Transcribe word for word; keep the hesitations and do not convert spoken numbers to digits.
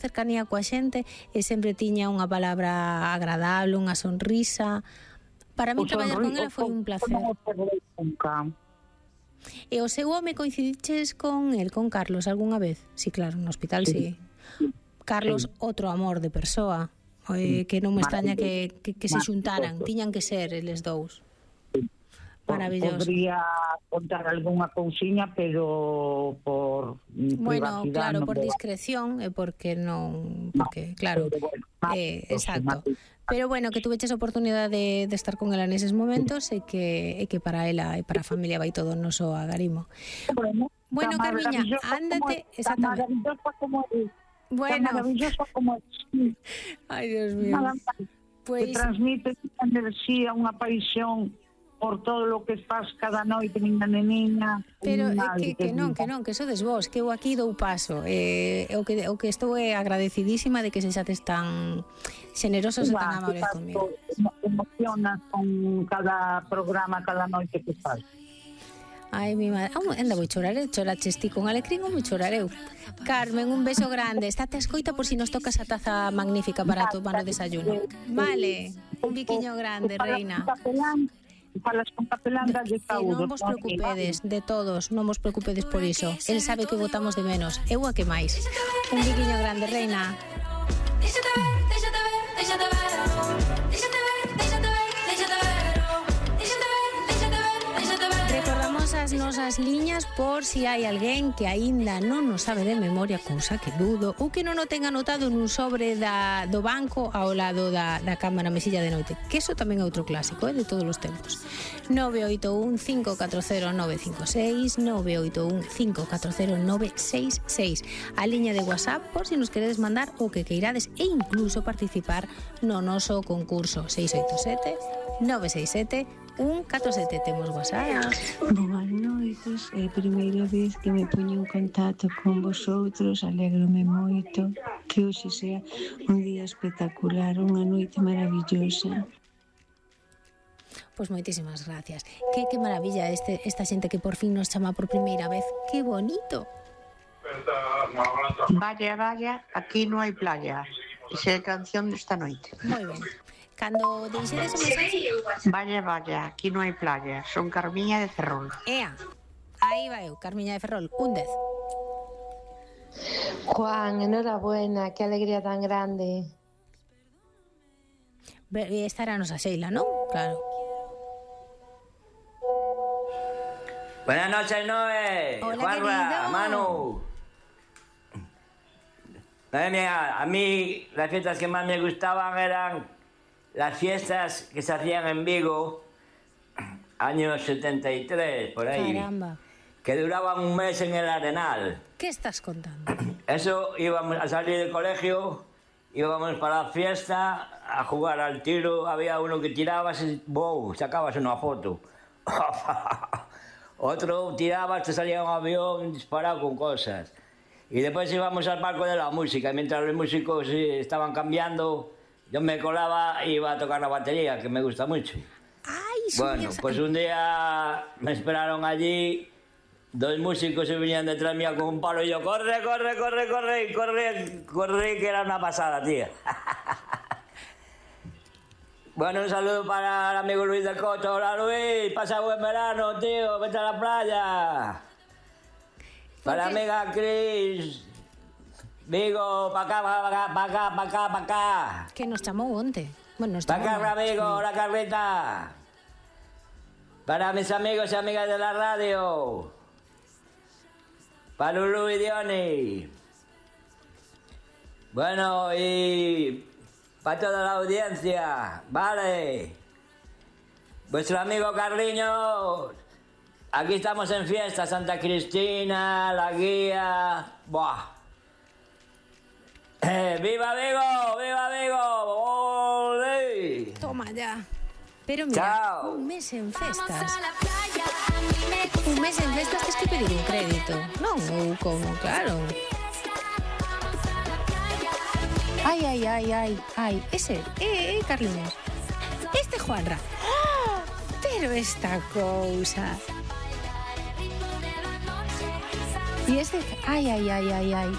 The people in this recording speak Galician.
cercanía coa xente e sempre tiña unha palabra agradable, unha sonrisa. Para mí traballar con ela foi un placer. E o seu home coincidiches con el, con Carlos, algunha vez? Sí, claro, no hospital sí. sí. Carlos, sí. Outro amor de persoa, eh, que non me extraña que, que, que se xuntaran, tiñan que ser eles dous. Maravilloso. Podría contar algunha cousiña, pero por bueno, claro, por discreción e porque non, porque claro, eh, exacto. Pero bueno, que tuveches a oportunidade de, de estar con ela neses momentos e que e que para ela e para a familia vai todo o noso agarimo. Bueno, bueno Carmiña, ándate, exactamente. Maravillosa como es. Bueno, maravillosa como es. Ay, Dios mío. Pues transmite unha enerxía, unha paixón por todo lo que faz cada noite, miña neniña. Pero é que, que non, que non, que sodes vos, que eu aquí dou paso. Eh, o, que, o que estou é agradecidísima de que se xates tan generosos e tan amables comigo. Emocionas con cada programa, cada noite que faz. Ai, mi madre, ah, anda, vou chorar, choraches ti con alecrín ou vou chorar eu? Carmen, un beso grande, estate a escoita por si nos tocas a taza magnífica para tomar o desayuno. Vale, un biquiño grande, reina. Falas con capelán de saúde. Non vos preocupedes, de todos, non vos preocupedes por iso. El sabe que votamos de menos, eu a que máis. Un biquiño grande, reina. Recordamos as nosas liñas por si hai alguén que aínda non nos sabe de memoria, cousa que dudo, ou que non o ten anotado nun sobre da, do banco ao lado da, da cama na mesilla de noite, que eso tamén é outro clásico, eh, de todos os tempos. nove oito un cinco catro cero nove cinco seis, nove oito un cinco catro cero nove seis seis, a liña de WhatsApp por si nos queredes mandar o que queirades e incluso participar no noso concurso seis oito sete nove seis sete un catro sete. Temos WhatsApp. Boas noites, é a primeira vez que me poño en contacto con vosotros, alégrome moito que hoxe sea un día espectacular, unha noite maravillosa. Pois moitísimas gracias. Que, que maravilla este, esta xente que por fin nos chama por primeira vez. Que bonito. Vaya, vaya, aquí non hai playa. Esa é a canción desta noite. Moi ben. Cando deixedes o mensaxe... Vaya, vaya, aquí non hai playa. Son Carmiña de Ferrol. Ea, aí vai eu, Carmiña de Ferrol, un dez. Juan, enhorabuena, que alegría tan grande. Esta era a nosa Sheila, non? Claro. Buenas noches, Noé. Hola, Juanra, querido. Manu. A mí las fiestas que más me gustaban eran las fiestas que se hacían en Vigo, años setenta y tres, por ahí. Caramba. Que duraban un mes en el Arenal. ¿Qué estás contando? Eso, íbamos a salir del colegio, íbamos para la fiesta, a jugar al tiro, había uno que tiraba, wow, sacabas una foto. Otro tiraba, te salía un avión disparado con cosas. Y después íbamos al palco de la música, mientras los músicos estaban cambiando, yo me colaba y iba a tocar la batería, que me gusta mucho. Ay, bueno, pues un día me esperaron allí, dos músicos se venían detrás mía con un palo y yo, corre, corre, corre, corre, corre, corre, que era una pasada, tía. Bueno, un saludo para el amigo Luis del Coto. Hola, Luis, pasa buen verano, tío, vete a la playa. Para la amiga Cris, Vigo, pa' acá, pa' acá, pa' acá, pa' acá, pa' acá. Que nos chamou onte. Bueno, nos Pa' chamou acá, onte. amigo, la Carlita. Para mis amigos y amigas de la radio. Para Lulu y Diony. Bueno, y para toda la audiencia, vale. Vuestro amigo Carliños. Aquí estamos en fiesta, Santa Cristina, La Guía. Buah. Eh, ¡Viva Vigo! ¡Viva Vigo! ¡Olé! Toma ya. Pero mira, Chao. un mes en festas. Un mes en festas tens que pedir un crédito. Non, ou como, claro. Ai, ai, ai, ai, ai. Ese, eh, eh, Carliños. Este Juanra. ¡Oh! Pero esta cousa. Y este, ai, ai, ai, ai, ai.